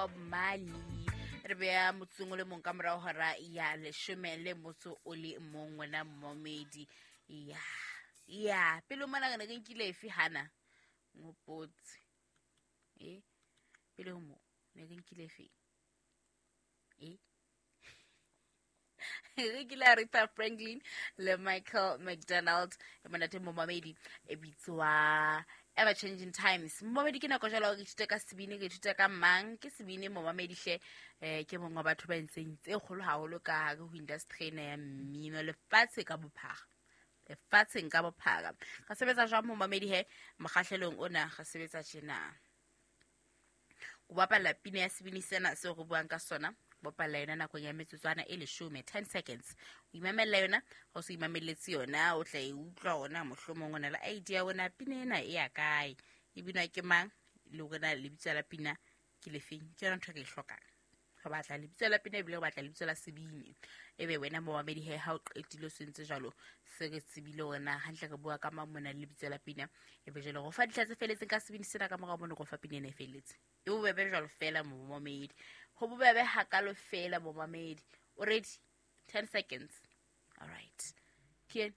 Bob Marley. Re beya motsotsong o le mong ka morao hora ya leshome le motso o le mong, wena momedi. Ya ya pele mona re ne re nkile efe hana ngopotse e pele ho mo ne re nkile efe e re kile Aretha Franklin le Michael McDonald e monate momamedi e bitswa Ever Changing Times. Momamedi, ke nako jalo re ithute ka sebini, re ithute ka mang ke sebini momamedi hle. Ke mongwe wa batho ba entseng tse kgolo haholo ka hare ho industry ena ya mmino lefatshe ka bophara, lefatsheng ka bophara. Re sebetsa jwang momamedi he mokgahlelong ona? Re sebetsa tjena: o bapalla pina ya sebini sena seo re buang ka sona, bapalla yona nakong ya metsotswana e 10, 10 seconds. O imamella yona, ha o se imamelletse yona, o tla e utlwa ona mohlomong o na le idea ona pina ena e ya kae, e binwa ke mang, le hore na lebitso la pina ke lefeng. Ke yona ntho e re e hlokang. Re batla lebitso la pina ebile re batla lebitso la sebini. Ebe wena momamedi he, ha o qetile o sentse jalo, se re tsebile hore na hantle re bua ka mang mona le lebitso la pina. Ebe jalo go fa ditlha tse feletseng ka sebini sena, ka morao mono go fa pina ena e feletse. E bobebe jalo fela momamedi, go bobebe hakalo fela momamedi. O ready? 10 seconds. All right, ke.